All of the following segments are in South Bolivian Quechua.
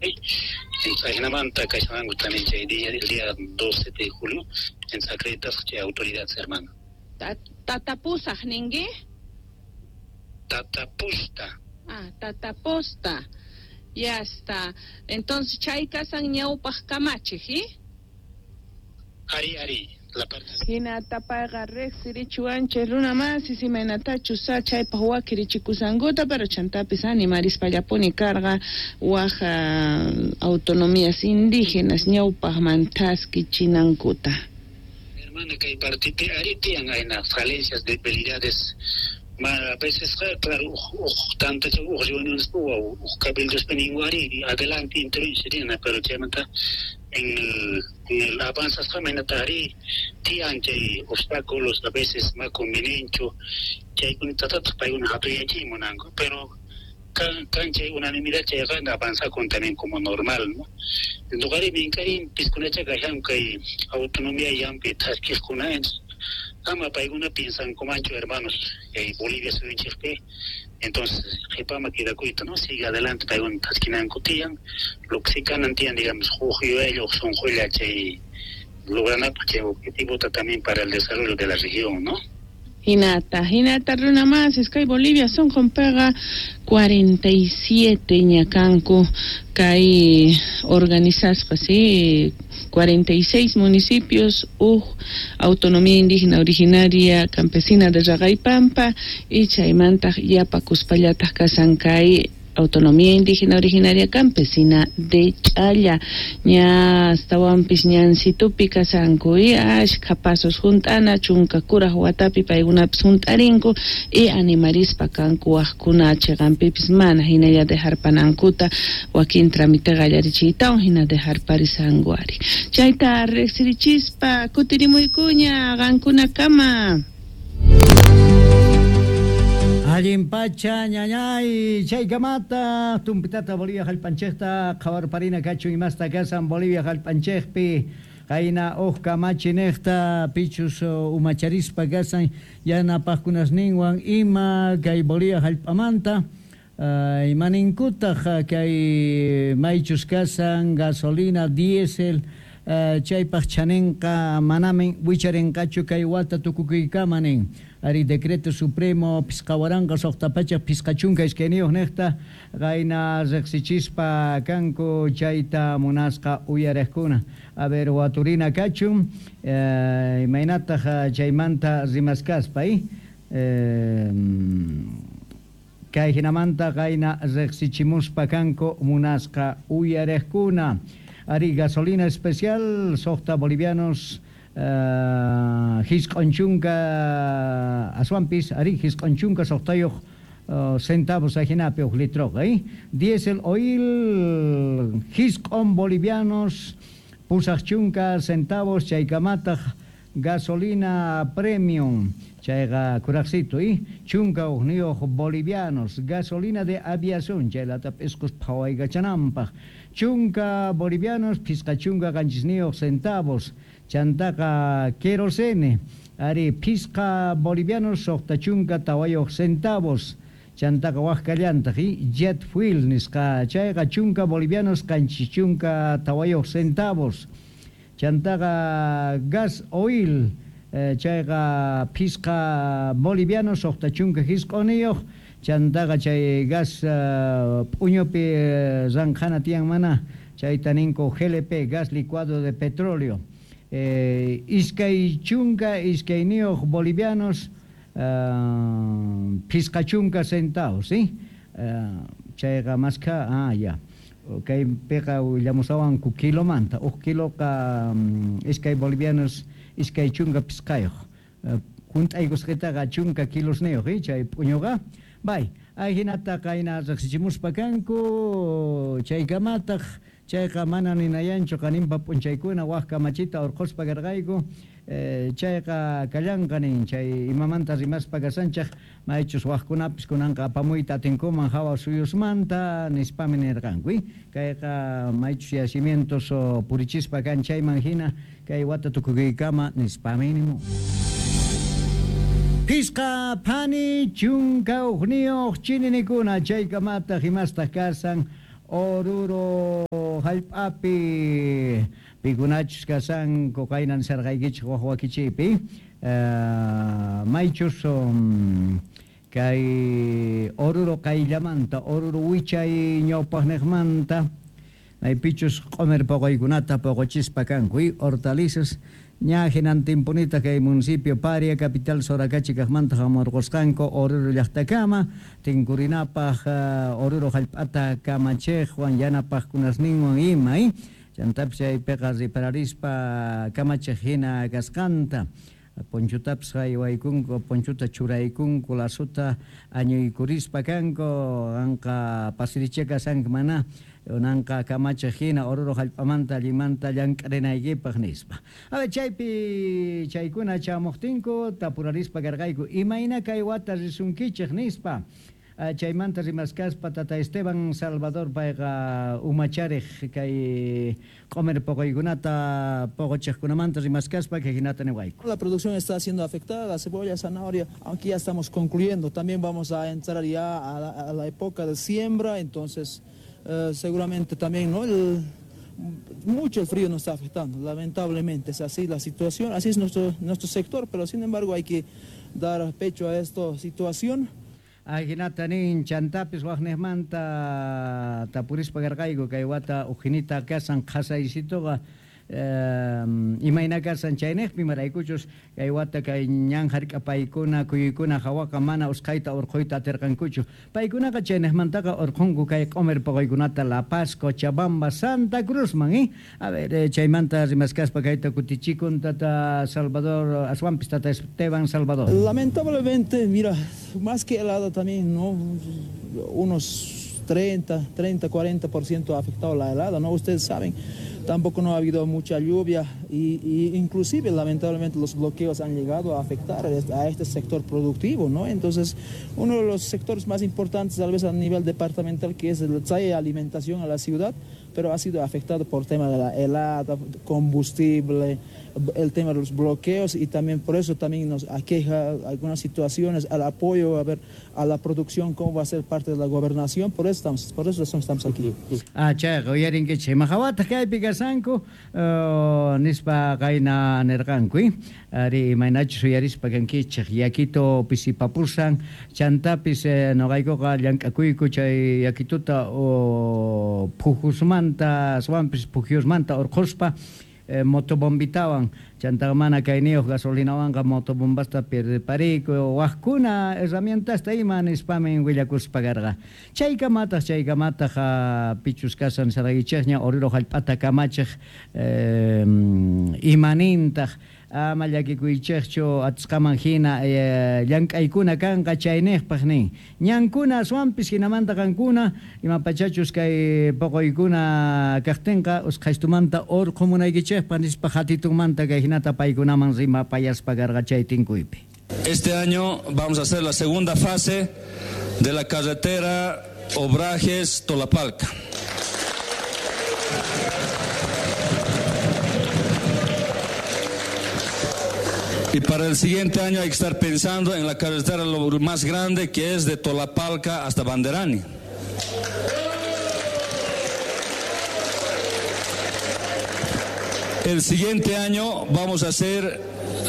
Entonces ajinamanta kashanku también chay día, el día 12 de julio, entonces acreditasqa chay autoridades, hermano. Tatapusaj ninki? Tatapusta. Ah, tataposta. Ya está. Entonces chay kasan ñawpaj kamachej, ¿eh? Ari, ari. La parte Hinata payqa riqsirichiwanchik runa masis imaynatachus chaypaq wakirichikusankuta, pero chantapis animarispallapuni karqa waj autonomías indígenas ñawpaqman thaskichinankuta. Hermana, kay partipi ari tiyan ayna falencias, debilidades. Ma, a veces, claro, uj tantacha uj reuniones uj cabildospi ninku ari adelante intervención, pero chaymanta en el avanzasqa maynata ari tiyan chay obstáculos a veces ma convenienchu chaykunatataq paykuna hatuyachiy munanku, pero kan chay unanimidad chayqa avanzakun también como normal, ¿no? Ñuqari mink'arin piskunacha kashan kay autonomía llampi thaskiqkuna, ama paykuna piensankumanchu, hermanos, Bolivia suyunchikpi, entonces qhipama quedakuyta, ¿no? Sigue adelante paykuna thaskinanku tiyan, lo que sí kanan tiyan, digamos, huk yuyaylla, huk sunqulla chay logranapaq chay objetivota también para el desarrollo de la región, ¿no? Hinata, hinata runa masis kay Bolivia sonqonpiqa 47 ñakanku kay organizasqa, sí, 46 municipios uj autonomía indígena originaria campesina de Raqaypampa y chaymantaq yapakuspallataq kasan kay autonomía indígena originaria campesina de Ch'alla. Ña astawanpis ñansitupi kasanku y ashkha pasos junt'ana chunka kuraj watapi paykunapis junt'arinku y animarispa kanku wajkuna chiqanpipis mana hinalla dejarpanankuta wakin trámite qallarichiytawan hina dejarparisanku ari. Chayta riqsirichispa kutirimuykuña qankunakama. Allin pacha ñañay chaykamata tumpitata Bolivia hallp'anchikta qhawarparina kachun imasta kasan Bolivia hallp'anchikpi qayna uj kamachi niqta pichus umacharispa kasan yanapaqkunasninwan ima kay Bolivia hallp'amanta imaninkutaq kay maychus kasan gasolina diésel chaypaq chaninqa manamin wicharinqachu kay wata tukukuykama nin. Ari decreto supremo 5652 niqta qayna riqsichispa kanku chayta munasqa uyariqkuna. A ver, waturina kachun imaynataq chaymanta rimaskaspa kay hinamanta qayna riqsichimuspa kanku munasqa uyariqkuna. Ari gasolina especial 6 bolivianos 90 aswanpis ari 96 centavos ajinapi uj litroqa, Diesel oil 9 bolivianos 80 centavos chaykamataq gasolina premium chayqa kuraqsito 11 bolivianos gasolina de aviación chaylata p'isqus phawaykachananpaq 10 bolivianos 57 centavos chantaqa querosene ari 5 bolivianos 64 centavos chantaqa wajkallantaq jet fuel nisqa chayqa 10 bolivianos 74 centavos chantaqa gas oil chayqa 5 bolivianos 69 chantaqa chay gas p'uñupi ranqhana tiyan mana chayta ninku GLP gas licuado de petróleo 22 bolivianos 50 centavos, ¿sí? Chayqa maskha, ya. Kaypiqa willamusawanku kilomanta, uj kiloqa 2 bolivianos 25. Junt'aykusqitaqa 10 kilosniyuq, chay p'uñuqa. Bay, ajinata qayna riqsichimuspa kanku, chaykamataq chayqa mana ninayanchu qaninpa p'unchaykuna waj kamachita urqhuspa karqayku, chayqa kallanqa nin chay imamanta rimaspa kasanchaq maychus wajkunapis kunanqa apamuyta atinkuman hawa suyusmanta nispami nirqanku, kayqa maychus yacimientos purichispa kan chayman hina kay wata tukukuykama nispami nimun. Pisqa phani 11 chininikuna chaykamataq imastaq kasan Oruro Jallp'api pikunachus kashanku qayna nisharqaykichej waj wakichiypi maychus kay Oruro qayllamanta, Oruro wichay ñawpaqniqmanta maypichus q'umir poqoykunata poqochispa kanku hortalizas ña hinantinpunita kay municipio Paria capital Soracachi kaqmanta hamurqusqanku Oruro llaqtakama tinkurinapaq Oruro hallp'ata kamachiqwan yanapaqkunasninwan ima chantapis chaypiqa ripararispa kamachiq hina kasqanta ponchotapis haywaykunku, ponchota churaykunku, lasota añuykurispa kanku, qanqa pasirichá kashanki mana unanqa kamachiq hina Oruro hallp'amanta allinmanta llank'arinaykipaq nispa. A ver, chaypi chaykuna chamuqtinku tapurarispa karqayku imayna kay wata risunkichik nispa. Chaymanta rimaskaspa tata Esteban Salvador payqa umacharej kay q'umir poqoykunata poqochiqkunamanta rimaskaspa kay hinata niwayku. La producción está siendo afectada, la cebolla, zanahoria, aunque ya estamos concluyendo, también vamos a entrar ya a la época de siembra, entonces seguramente también, ¿no? Mucho el frío nos está afectando, lamentablemente es así la situación, así es nuestro sector, pero sin embargo hay que dar pecho a esta situación. Ajinata nin chantapis wajnejmanta tapurispa karqayku kay wata ujinita kasan qhasaysituqa imayna kasan chaynejpi maraykuchus kay wata kay ñan hark'apaykuna kuyuykuna hawaqa mana usqhayta urqhuyta atirqankuchu paykunaqa chaynejmantaqa urqhunku kay q'umir poqoykunata La Paz, Cochabamba, Santa Cruzman a ver chaymanta rimaskaspa kayta kutichikun tata Salvador aswanpis tata Esteban Salvador. Lamentablemente, mira, más que helada también, ¿no? Unos 30, 40% ha afectado la helada, ¿no? Ustedes saben, tampoco no ha habido mucha lluvia y inclusive lamentablemente los bloqueos han llegado a afectar a este sector productivo, ¿no? Entonces, uno de los sectores más importantes tal vez a nivel departamental que es el trae alimentación a la ciudad, pero ha sido afectado por tema de la helada, combustible, el tema de los bloqueos y también por eso también nos aqueja algunas situaciones al apoyo a ver a la producción cómo va a ser parte de la gobernación, por eso estamos aquí. Ah, chayqa uyarinkichik imahawataq kaypi kashanku nispa qayna nirqanku ari imaynachus uyarispa kankichik yakito pisipapusan chantapis noqaykuqa llank'akuyku chay yakituta phujusmanta aswanpis pujyusmanta urqhuspa motobombitawan chantaqa mana kayniyuq gasolinawanqa motobombasta pirpariku wajkuna herramientasta ima nispamin willakuspa karqa chaykamataq pichus kasan saraykichikña Oruro hallp'ata kamachiq imanintaq ama llakikuychikchu atisqaman hina llank'aykuna kanqa chaynejpaq nin ñankuna aswanpis hinamanta qankuna imapachachus kay poqoykuna kaqtinqa usqhaystumanta urqhumunaykichikpaq nispa hatitunmanta kay hinata paykunaman rimapayaspa karqa chay tinkuypi. Este año vamos a hacer la segunda fase de la carretera Obrajes Tolapalca. Y para el siguiente año hay que estar pensando en la carretera lo más grande que es de Tolapalca hasta Banderani. El siguiente año vamos a hacer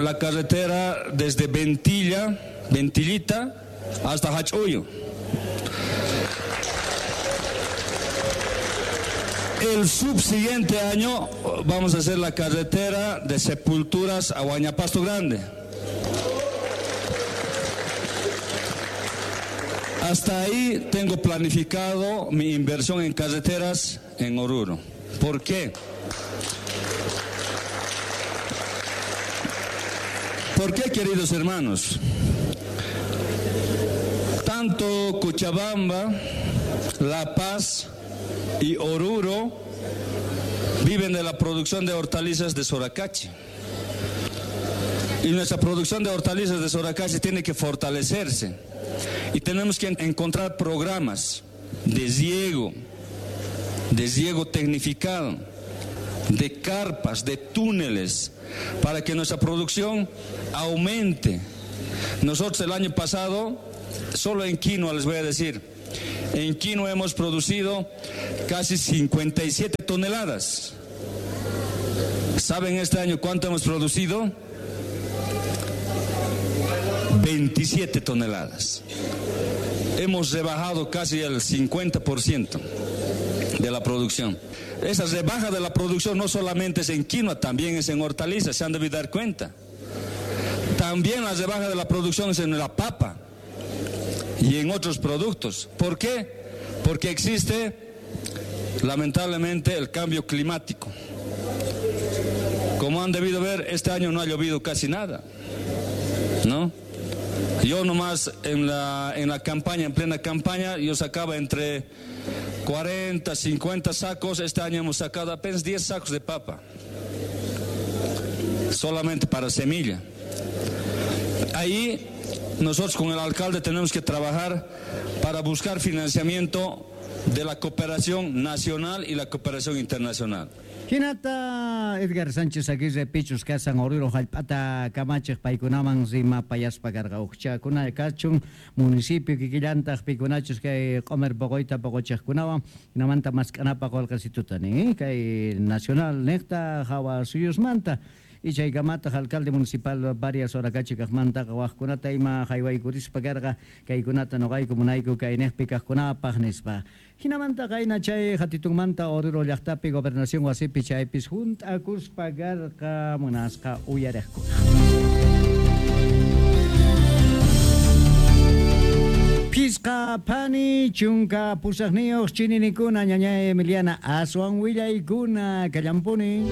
la carretera desde Ventilla, Ventillita, hasta Hachuyo. El subsiguiente año vamos a hacer la carretera de Sepulturas a Huañapasto Grande. Hasta ahí tengo planificado mi inversión en carreteras en Oruro. ¿Por qué? ¿Por qué, queridos hermanos? Tanto Cochabamba, La Paz y Oruro viven de la producción de hortalizas de Soracachi. Y nuestra producción de hortalizas de Soracachi tiene que fortalecerse. Y tenemos que encontrar programas de riego tecnificado, de carpas, de túneles, para que nuestra producción aumente. Nosotros el año pasado, solo en quinoa les voy a decir, En quinoa hemos producido casi 57 toneladas. ¿Saben este año cuánto hemos producido? 27 toneladas. Hemos rebajado casi el 50% de la producción. Esa rebaja de la producción no solamente es en quinoa, también es en hortalizas, se han debido dar cuenta. También la rebaja de la producción es en la papa y en otros productos. ¿Por qué? Porque existe, lamentablemente, el cambio climático. Como han debido ver, este año no ha llovido casi nada, ¿no? Yo nomás en la campaña, en plena campaña, yo sacaba entre 40, 50 sacos. Este año hemos sacado apenas 10 sacos de papa, solamente para semilla. Ahí nosotros con el alcalde tenemos que trabajar para buscar financiamiento de la cooperación nacional y la cooperación internacional. Hinata Edgar Sánchez Aguirre pichus kasan Oruro jallp'ata kamachej paykunaman rimapayaspa karqa ujchakuna kachun municipio kikillantaq pikunachus kay q'omer poqoyta poqochejkunawan hinamanta mask'anapaq qolqesituta nin kay nacional niqta hawa suyusmanta y chaykamataq alcalde municipal varias Sorakachi kaqmantaqa wajkunata ima haywaykurispa karqa kaykunata noqayku munayku kayniqpi kaqkunapaq nispa. Hinamanta qayna chay hatitunmanta Oruro llaqtapi gobernación wasipi chaypis hunt'akuspa karqa munasqa uyariqkuna. Pisqa phani chunka pusaqniyuq chininikuna ñañay Emiliana aswan willaykuna kallampuni.